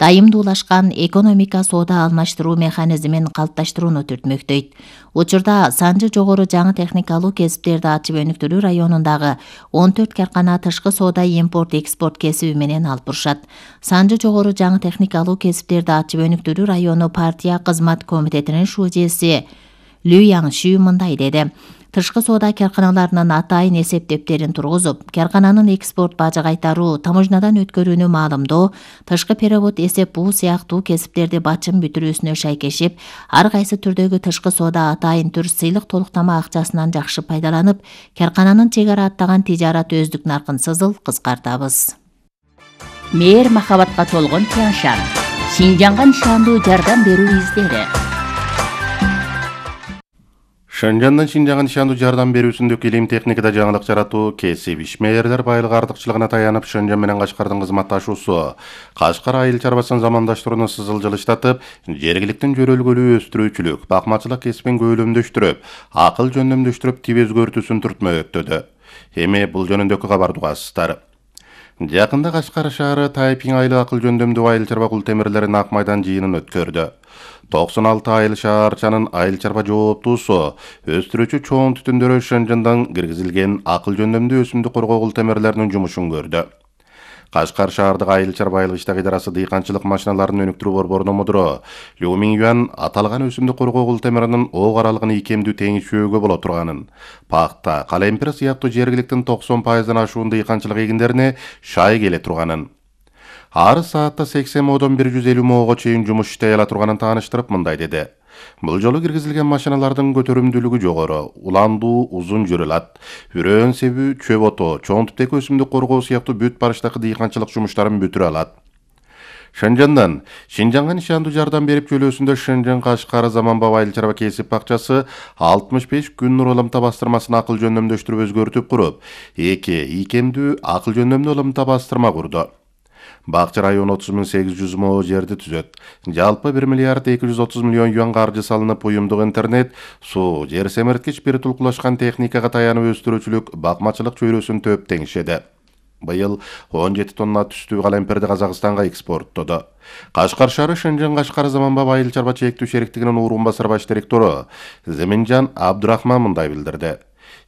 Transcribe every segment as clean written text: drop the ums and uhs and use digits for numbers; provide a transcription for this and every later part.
дайымдуулашкан экономика соода алмаштыруу механизмин калыпташтырууну түртмөктөйт. Учурда Санжы жогору жаңы техникалуу кесиптерди ачып өнүктүрүү районундагы 14 каркана тышкы соода импорт-экспорт кесиби менен алып бурушат. Санжы жогору жаңы техникалуу кесиптерди ачып өнүктүрүү району партия кызмат комитетинин шужеси Лю Яңши мындай деди. Тышкы соода карканаларынын атайын эсеп дептерин тургузуп, каркананын экспорт бажы кайтаруу, таможнядан өткөрүүнү маалымдоо, тышкы перевод эсеп буу сыяктуу кесиптерди бачым бүтүрүүсүнө шайкешип, ар кайсы түрдөгү тышкы соода атайын түр сыйлык толуктама акчасынан жакшы пайдаланып, каркананын чек ара аттаган тижарат өздүк наркын сызыл кыскартабыз. Мээр махабатка толгон Тяншан. Шинжанга нишандуу жардам берүү издери. Шэньчжандан Шинжанга нишандуу жардам берүүсүндөгү илим техникада жаңылык жаратуу кесип ишмерлер байлык артыкчылыгына таянып Шэньчжан менен Кашкардын кызматташуусу Кашкар айыл чарбасын замандаштырууну сызыл жылыштатып, жергиликтин жөрөлгөлүү өстүрүүчүлүк, бакмачылык кесибин көйлөмдөштүрүп, акыл жөндөмдөштүрүп тип өзгөртүүсүн түртмөктөдү. Эми бул жөнүндөгү кабарды угасыздар. Жакында Кашкар шаары Тайпиң айыл акыл жөндөмдүү айыл чарба кул темирлерин Ак майдан жыйынын өткөрдү. 96 айыл шаарчанын айыл чарба жооптуусу өстүрүүчү чоң түтүндөрү Шэньчжандан киргизилген акыл жөндөмдүү өсүмдүк коргоо кул темирлеринин жумушун көрдү. Кашкар шаардык айыл чарба айыл иштак идарасы дыйканчылык машиналарын өнүктүрүү борборунун мудуру Лю Минgyuan аталган өсүмдүк коргоо кул темиринин ок аралыгын ийкемдүү теңишүүгө боло турганын, пакта, калемпир сыяктуу жергиликтин 90%-дан ашуун дыйканчылык эгиндерине шай келе турганын, ар саатта 80 модон 150 моого чейин жумуш иштей ала турганын тааныштырып мындай деди. Бул жолу киргизилген машиналардын көтөрүмдүүлүгү жогору, уландуу узун жүрө алат, үрөөн себүү, чөп отоо, чоң типтеги өсүмдүк коргоо сыяктуу бүт барыштагы дыйканчылык жумуштарын бүтүрө алат. Шэньчжандан Шинжанга нишандуу жардам берип чөлөөсүндө Шэньчжан Кашкар заманбап айыл чарба кесип бакчасы 65 күн нур ылымта бастырмасын акыл жөндөмдөштүрүп өзгөртүп куруп, ийкемдүү акыл жөндөмдүү ылымта бастырма курду. Бакча району 30.800 мо жерди түзөт. Жалпы 1 миллиард 230 миллион юан каржы салынып, уюмдук интернет, суу, жер семирткич бир тулкулашкан техникага таянып өстүрүүчүлүк, бакмачылык чөйрөсүн төп теңишеди. Быйыл 17 тонна түстүү калемпирди Казакстанга экспорттоду. Кашкар шаары Шэньчжан Кашкар заманбап айыл чарба чектүү шериктигинин урун басар баш директору Земинжан Абдурахман мындай билдирди.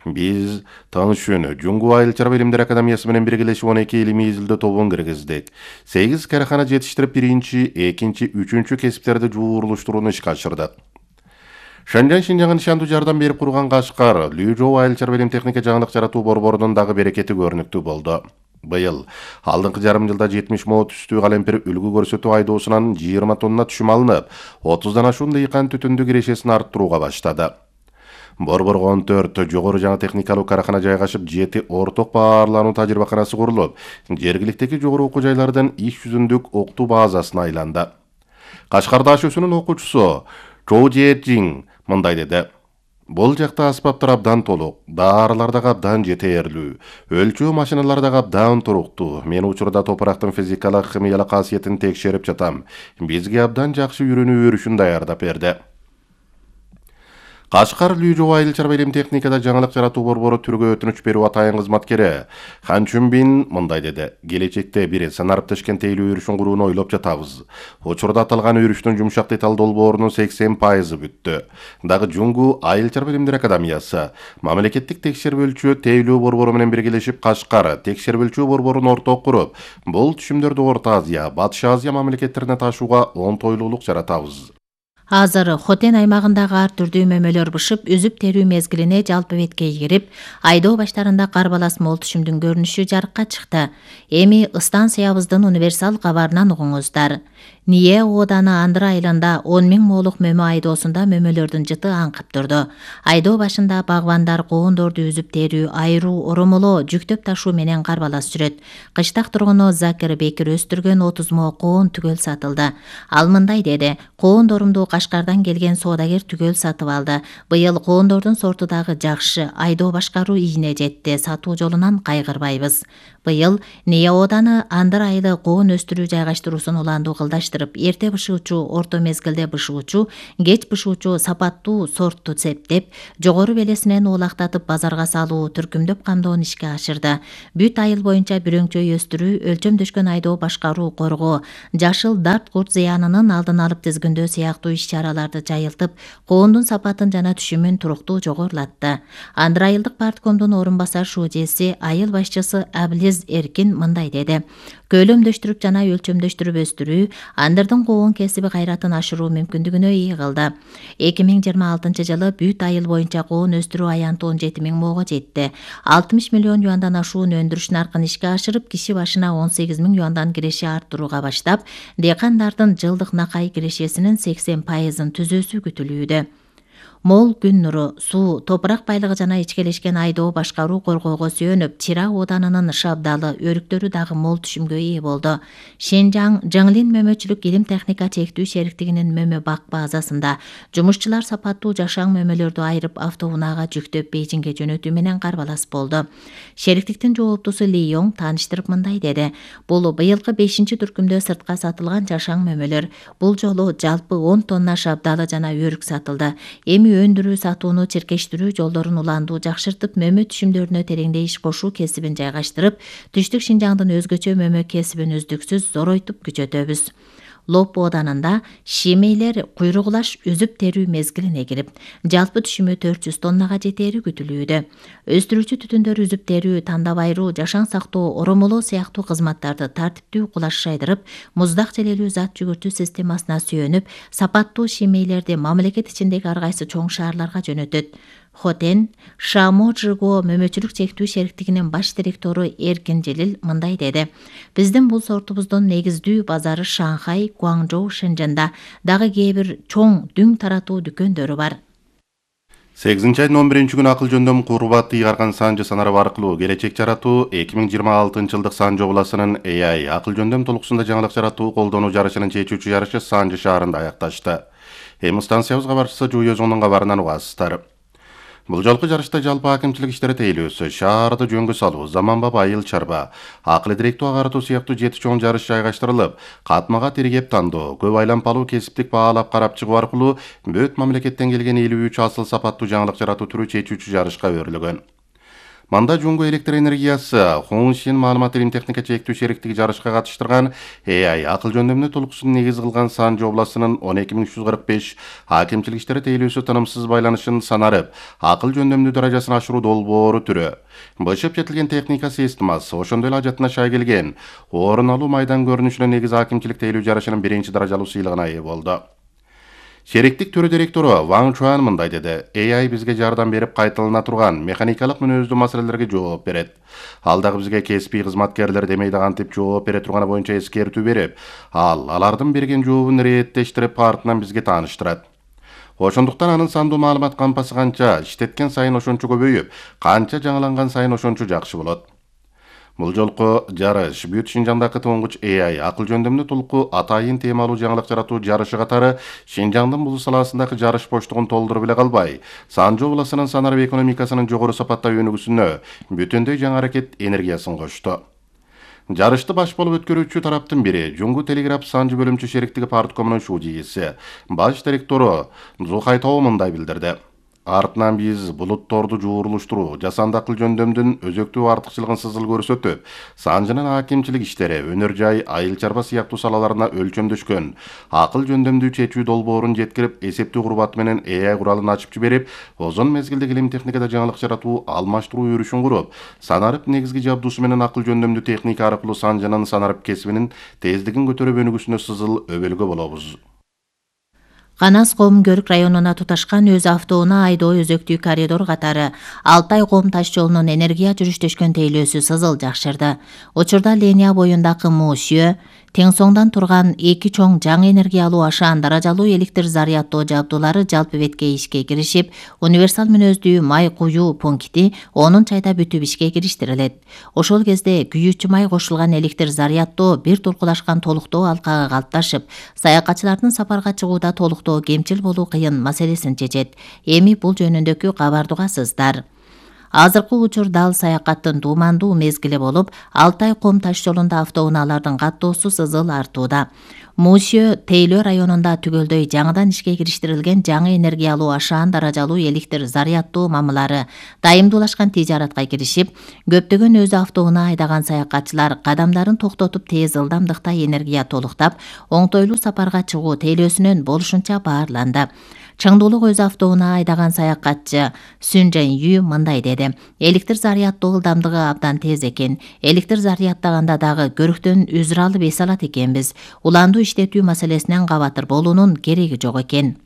Биз Таңшүнү Жуңгу айыл чарба илимдер академиясы менен биргелешип 12 илимий изилдөө тобун киргиздик. 8 карахана жетиштирип 1-2, 3 кесиптерди жуурулуштурууну ишке ашырдык. Шэньчжан Шинжанга нишандуу жардам берип курган Кашкар Лүжөө айыл чарба илим техника жаңылык жаратуу борборунун дагы берекети көрүнүктүү болду. Быйыл алдыңкы жарым жылда 70 мо түстүү калемпир үлгү көрсөтүү айдоосунан 20 тонна түшүм алынып, 30дан ашуун дыйкан түтүндүк ирешесин арттырууга баштады. Борборго 14 жогору жаңы техникалуу карахана жайгашып, 7 орток баарлануу тажрыйбаканасы курулуп, жергиликтеги жогору окуу жайлардан иш жүзүндүк октуу базасына айланды. Кашкар ДАШ-сынын окуучусу Чоу Жи мындай деди. Бул жакта аспаптар абдан толук, даарылар дагы абдан жетээрлүү, өлчөө машиналар дагы абдан туруктуу. Мен учурда топурактын физикалык, химиялык касиетин текшерип жатам. Бизге абдан жакшы үйрөнүү өрүшүн даярдап берди. Кашкар Лүжөө айыл чарба илим техникада жаңылык жаратуу борбору түргө өтүнүч берүү атайын кызматкери Хан Чүнбин мындай деди. Келечекте бир санарип тешкентейлүү өрүшүн курууну ойлоп жатабыз. Учурда аталган өрүштүн жумшак деталь долбоорунун 80% бүттү. Дагы Жуңгу айыл чарба илимдер академиясы, мамлекеттик текшербөлчү тейлөө борбору менен биргелешип Кашкар текшербөлчү борборун орток куруп, бул түшүмдөрдү Орто Азия, Батыш Азия мамлекеттерине ташууга оңтойлуулук жаратабыз. Азыр Хотен аймагындагы ар түрдүү мөмөлөр бышып, үзүп терүү мезгилине жалпы бетке кирип, айдоо баштарында кар балас мол түшүмдүн көрүнүшү жарыкка чыкты. Эми станциябыздын универсал кабарынан угуңуздар. Ние ооданы Андыра айылында 10 000 молук мөмө айдоосунда мөмөлөрдүн жыты аңкып турду. Айдоо башында багбандар коондорду үзүп терүү, айыруу, оромолоо, жүктөп ташуу менен кар балас жүрөт. Кыштак тургуну Закир Бекир өстүргөн 30 мо коон түгөл сатылды. Ал мындай деди. Коондорумду Кашкардан келген соодагер түгөл сатып алды. Быйыл коондордун сорту дагы жакшы, айдоо башкаруу ийине жетти, сатуу жолунан кайгырбайбыз. Быйыл Нея ооданы андыр айылы коон өстүрүү жайгаштыруусун уландуу кылдаштырып, эрте бышуучу, орто мезгилде бышуучу, кеч бышуучу сапаттуу сортту септеп, жогору белесинен уулактатып базарга салуу, түркүмдөп камдоону ишке ашырды. Бүт айыл боюнча бүрөңчөй өстүрүү, өлчөмдөшкөн айдоо башкаруу, коргоо, жашыл дарт курт зыянынын алдын алып тизгиндөө сыяктуу иш-чараларды жайылтып, коондун сапатын жана түшүмүн туруктуу жогорулатты. Андыр айылдык парткомдун орун басар шуудеси, айыл башчысы Аблиз Эркин мындай деди: Көлөмдөштүрүп жана өлчөмдөштүрүп өстүрүү андырдын коон кесиби кайратын ашыруу мүмкүндүгүнө ээ кылды. 2026 жылы бүт айыл боюнча коон өстүрүү аянты 17 000 моого жетти. 60 миллион юандан ашуун өндүрүш наркын ишке ашырып, киши башына 18 000 юандан киреше арттырууга баштап, дыйкандардын жылдык накай кирешесинин 80%-ын түзүүсү күтүлүүдө. Мол күн нуру, суу, топурак байлыгы жана ичкелешкен айдоо башкаруу коргоого сүйөнүп, Чира ооданынын шабдалы, өрүктөрү дагы мол түшүмгө ээ болду. Шенжаң Жаңлин мөмөчүлүк илим техника чектүү шериктигинин мөмө бак базасында жумушчулар сапаттуу жашаң мөмөлөрдү айырып автоунаага жүктөп Бейжиңге жөнөтүү менен карбалас болду. Шериктиктин жооптусу Ли Йонг тааныштырып мындай деди: Бул быйылкы 5-түркүмдө сыртка сатылган жашаң мөмөлөр. Бул жолу жалпы 10 тонна шабдалы жана өрүк сатылды. Эми өндүрүү сатууну чиркештирүү жолдорун уландуу жакшыртып, мөмө түшүмдөрүнө тереңдей иш кошуу кесибин жайгаштырып, Түштүк Шинжаңдын өзгөчө мөмө кесибин үздүксүз зоройтуп күчөтөбүз. Лоп ооданында шемейлер куйругулаш үзүп терүү мезгилине кирип, жалпы түшүмү 400 тоннага жетери күтүлүүдө. Өстүрүүчү түтүндөр үзүп терүү, тандап айыруу, жашаң сактоо, оромолоо сыяктуу кызматтарды тартиптүү кулаш шайдырып, муздак желелүү зат жүгүртүү системасына сүйөнүп, сапаттуу шемейлерди мамлекет ичиндеги ар кайсы чоң шаарларга жөнөтөт. Хотен Шаможиго мөмөчүлүк чектүү шериктигинин баш директору Эркин Желил мындай деди: Биздин бул сортубуздун негиздүү базары Шанхай, Гуаңжоу, Шэньчжэнда, дагы кээ бир чоң дүң таратуу дүкөндөрү бар. 8-айдын 11-күнү акыл жөндөм курбаты ыйгарган санжы санарып аркылуу келечек жаратуу 2026 жылдык Санжы областынын AI акыл жөндөм толукусунда жаңылык жаратуу колдонуу жарышынын чечүүчү жарышы Санжы шаарында аякташты. Эми станциябыз кабарчысы Жуу Өзүнүн кабарынан угасыздар. Бул жолку жарышта жалпы акимчилик иштери тейлөөсү, шаарды жөнгө салуу, заманбап айыл чарба, акыл директүү агаратуу сыяктуу 7 чоң жарыш жайгаштырылып, катмага тиргеп тандоо, көп айланпалуу кесиптик баалап карап чыгуу аркылуу бөт мамлекеттен келген 53 асыл сапаттуу жаңылык жаратуу түрү чечүүчү жарышка өрүлгөн. Манда Жуңго электр энергиясы, Хуншин маалымат илим техника чектүү шериктиги жарышка катыштырган AI акыл жөндөмүнө толукусун негиз кылган Санжы областынын 12345 акимчилик иштери тейлөөсү тынымсыз байланышын санарып, акыл жөндөмдүү даражасын ашыруу долбоору түрү. Бышып жетилген техника системасы, ошондой эле ажатына шай келген орун алуу майдан көрүнүшүнө негиз акимчилик тейлөө жарышынын 1-чи даражалуу сыйлыгына ээ болду. Шериктик төрө директору Ван Чуан мындай деди: AI бизге жардам берип кайталана турган механикалык мүнөздүү маселелерге жооп берет. Ал дагы бизге кесипий кызматкерлер демейди кантип жооп бере турганы боюнча эскертүү берип, алардын берген жообун рээттештирип артынан бизге тааныштырат. Ошондуктан анын сандуу маалымат кампасы канча иштеткен сайын ошончо көбөйүп, канча жаңыланган сайын ошончо жакшы болот. Бул жолку жарыш бүт Шинжаңдагы туңгуч AI акыл жөндөмүнө толуку атайын темалуу жаңылык жаратуу жарышы катары Шинжаңдын бул саласындагы жарыш боштугун толтуруп эле калбай, Санжы областынын санарып экономикасынын жогору сапатта өнүгүүсүнө бүтүндөй жаңы аракет энергиясын кошту. Жарышты баш болуп өткөрүүчү тараптын бири Жуңгу телеграф Санжы бөлүмчү шериктиги парткомунун шуудийиси, баш директору Зухайтоо мындай билдирди: Артынан биз булутторду жуурулуштуруу, жасанды акыл жөндөмдүн өзөктүү артыкчылыгын сызыл көрсөтүп, Санжынын акимчилик иштери, өнөр жай, айыл чарба сыяктуу салаларына өлчөмдөшкөн акыл жөндөмдүү чечүү долбоорун жеткирип, эсептүү курбаты менен AI куралын ачып жиберип, озон мезгилдеги илим техникада жаңылык жаратуу, алмаштыруу өрүшүн куруп, санарып негизги жабдуусу менен акыл жөндөмдүү техника аркылуу Санжынын санарып кесибинин тездигин көтөрүп өнүгүүсүнө сызыл өбөлгө болобуз. Канас Ком Көрүк районуна туташкан өз автоунаа айдоо өзөктүү коридор катары Алтай Ком таш жолунун энергия жүрүштөшкөн тейлөөсү сызыл жакшырды. Учурда линия боюндагы Мушө, тең соңдан турган 2 чоң жаңы энергия алуу ашаан даражалуу электр заряддоо жабдуулары жалпы бетке ишке киришип, универсал мүнөздүү май куюу пункти 10 айда бүтүп ишке кириштирилет. Ошол кезде күйүүчү май кошулган электр заряддоо бир туркулашкан толуктоо алкага калыпташып, саякатчылардын сапарга чыгууда толуктоо кемчил болуу кыйын маселесин чечет. Эми бул жөнүндөгү кабарды угасыздар. Азыркы учур дал саякаттын туумандуу мезгили болуп, Алтай Ком таш жолунда автоунаалардын каттоосу сызыл артууда. Мусиө Тейлөө районунда түгөлдөй жаңыдан ишке кириштирилген жаңы энергия алуу ашаан даражалуу электр заряддоо мамылары дайымдуулашкан тижаратка киришип, көптөгөн өзү автоунаа айдаган саякатчылар кадамдарын токтотуп тез ылдамдыкта энергия толуктап, оңтойлуу сапарга чыгуу тейлөөсүнөн болушунча баарланды. Чыңдуулук өзү автоунаа айдаган саякатчы Сүн Жен Ю мындай деди: электр заряддоо ылдамдыгы абдан тез экен. Электр заряддаганда дагы көрүктөн үзүр алып эс алат экенбиз. Уланду иштетүү маселесинен кабатыр болуунун кереги жок экен.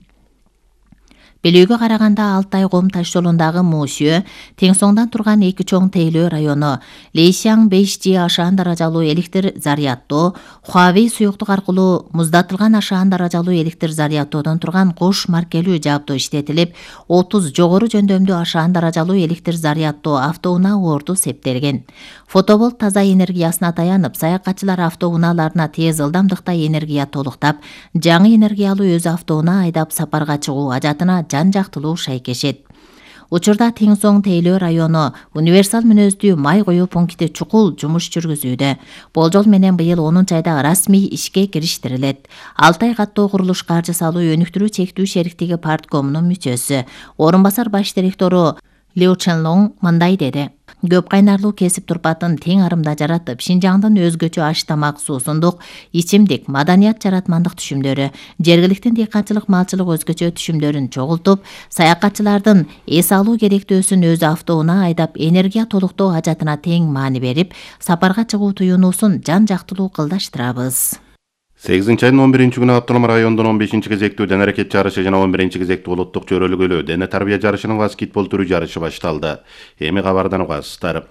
Белүүгө караганда Алтай Ком таш жолундагы Мусиө тең соңдан турган 2 чоң Тейлөө району, Лейсяң 5G ашаан даражалуу электр заряддоо, Хуавей суюктук аркылуу муздатылган ашаан даражалуу электр заряддоодон турган кош маркелүү жабдуу иштетилип, 30 жогору жөндөмдүү ашаан даражалуу электр заряддоо автоунаа орду септелген. Фотоболт таза энергиясына таянып, саякатчылар автоунааларына тез ылдамдыкта энергия толуктап, жаңы энергия алуу өзү автоунаа айдап сапарга чыгуу ажатына жан жактылуу шайкешет. Учурда тең соң Тейлөө району универсал мүнөздүү май коюу пункти чукул жумуш жүргүзүүдө. Болжол менен быйыл 10 айда расмий ишке кириштирилет. Алтай каттоо курулуш каржы салуу өнүктүрүү чектүү шериктиги парткомунун мүчөсү, орун басар баш директору Лю Ченлонг мындай деди: көп кайнарлуу кесип турпатын тең арымда жаратып, Шинжаңдын өзгөчө аш тамак, суусундук, ичимдик, маданият жаратмандык түшүмдөрү, жергиликтин дыйканчылык, малчылык өзгөчө түшүмдөрүн чогултуп, саякатчылардын эс алуу керектөөсүн өзү автоунаа айдап энергия толуктоо ажатына тең маани берип, сапарга чыгуу туюунуусун жан жактылуу кылдаштырабыз. 8-айдын 11-күнү Автоном райондун 15-кезектүү дене аракет жарышы жана 11-кезектүү улуттук чөйрөлгөлүү дене тарбия жарышынын баскетбол түрү жарышы башталды. Эми кабардан угасыздар.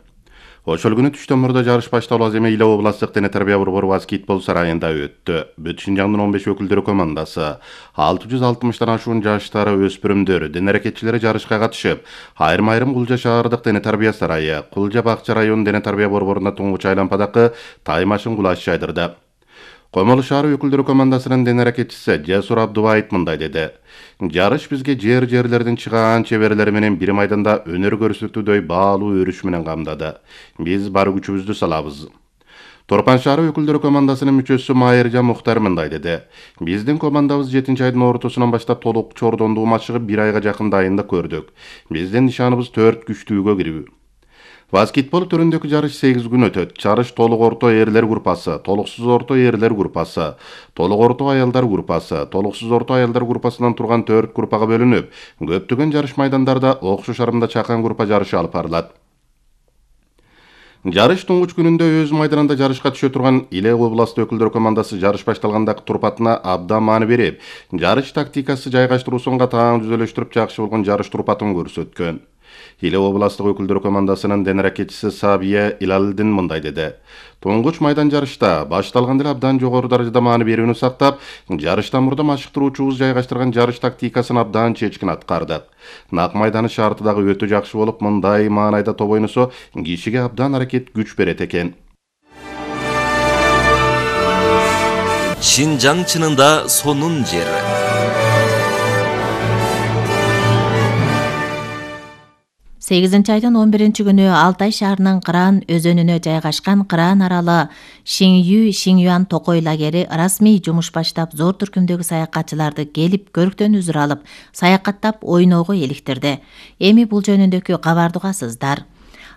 Ошол күнү түштөн мурда жарыш башталуу эми Иле областтык дене тарбия борбору баскетбол сарайында өттү. Бүт Шинжаңдын 15 өкүлдөрү командасы 660 ашуун жаштары өспүрүмдөр дене аракетчилери жарышка катышып, айрым Кулжа шаардык дене тарбия сарайы, Кулжа Бакча район дене тарбия борборуна туңгуч айлампадагы таймашын кулаш жайдырды. Комолу шаары өкүлдөрү командасынын дене аракетчиси Жасур Абдубаев мындай деди: жарыш бизге жерлерден чыгаан чеберлери менен бир майданда өнөр көрсөтүүдөй баалуу өрүш менен камдады. Биз бар күчүбүздү салабыз. Торпан шаары өкүлдөрү командасынын мүчөсү Майыржан Мухтар мындай деди: биздин командабыз 7-айдын ортосунан баштап толук чордондуу матчыгы 1 айга жакын дайындык көрдүк. Биздин нишаныбыз 4 күчтүүгө кирүү. Баскетбол түрүндөгү жарыш 8 күн өтөт. Жарыш толук орто эрлер группасы, толуксуз орто эрлер группасы, толук орто аялдар группасы, толуксуз орто аялдар группасынан турган 4 группага бөлүнүп, көптөгөн жарыш майдандарда окшош арымда чакан группа жарышы алып барылат. Жарыш туңгуч күнүндө өз майданында жарышка түшө турган Иле областы өкүлдөр командасы жарыш башталгандагы турпатына абдан маани берип, жарыш тактикасы жайгаштыруусунга таң түзөлөштүрүп жакшы болгон жарыш турпатын көрсөткөн. Иле областык өкүлдөр командасынын дене аракетчиси Сабия Илалдин мындай деди: туңгуч майдан жарышта башталганда эле абдан жогору даражада маани берүүнү сактап, жарыштан мурда машыктыруучубуз жайгаштырган жарыш тактикасын абдан чечкин аткардык. Нак майданы шарты дагы өтө жакшы болуп, мындай маанайда топ ойносо кишиге абдан аракет күч берет экен. Шинжаң чынында сонун жер. Айдын 11 күнү Алтай шаарынын Кыран өзөнүнө жайгашкан Кыран аралы Шинюан токой лагери расмий жумуш баштап, зор түркүмдөгү саякатчыларды келип, көрктөн үзүр алып, саякаттап ойноого иликтирди. Эми бул жөнүндөгү кабарды угасыздар.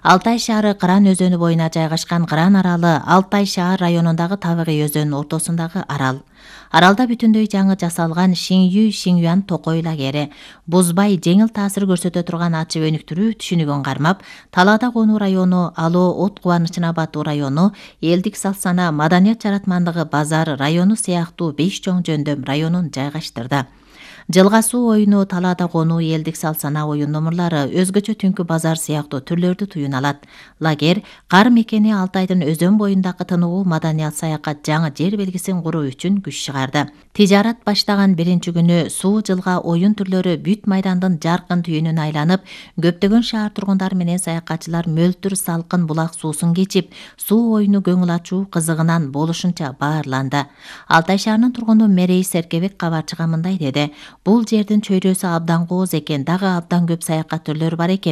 Алтай шаары Кыран өзөнү боюна жайгашкан Кыран аралы Алтай шаар районундагы табигый өзөнүн ортосундагы арал. Аралда бүтүндөй жаңы жасалган Шинюан токой лагери бузбай, жеңил таасир көрсөтө турган ачып өнүктүрүү түшүнүгүн кармап, Талаада конуу району, Алоо от кубанычына батуу району, элдик салт-сана, маданият жаратмандыгы базар району сыяктуу 5 чоң жөндөм районун жайгаштырды. Жылга суу оюну, талаада конуу, элдик салт-санаа оюн номурлары, өзгөчө түнкү базар сыяктуу түрлөрдү туюна алат. Лагерь кар мекени Алтайдын өзөн боюндагы тынугу маданият саякат жаңы жер белгисин куруу үчүн күч чыгарды. Тижарат баштаган биринчи күнү суу жылга оюн түрлөрү бүт майдандын жаркын түйүнүн айланып, көптөгөн шаар тургундары менен саякатчылар мөлтүр салкын булак суусун кечип, суу оюну көңүл ачуу кызыгынан болушунча баарланды. Алтай шаарынын тургуну Мерей Серкебек кабарчыга мындай деди: Бул жердин чөйрөсү абдан кооз экен, дагы абдан көп саякат түрлөрү бар экен.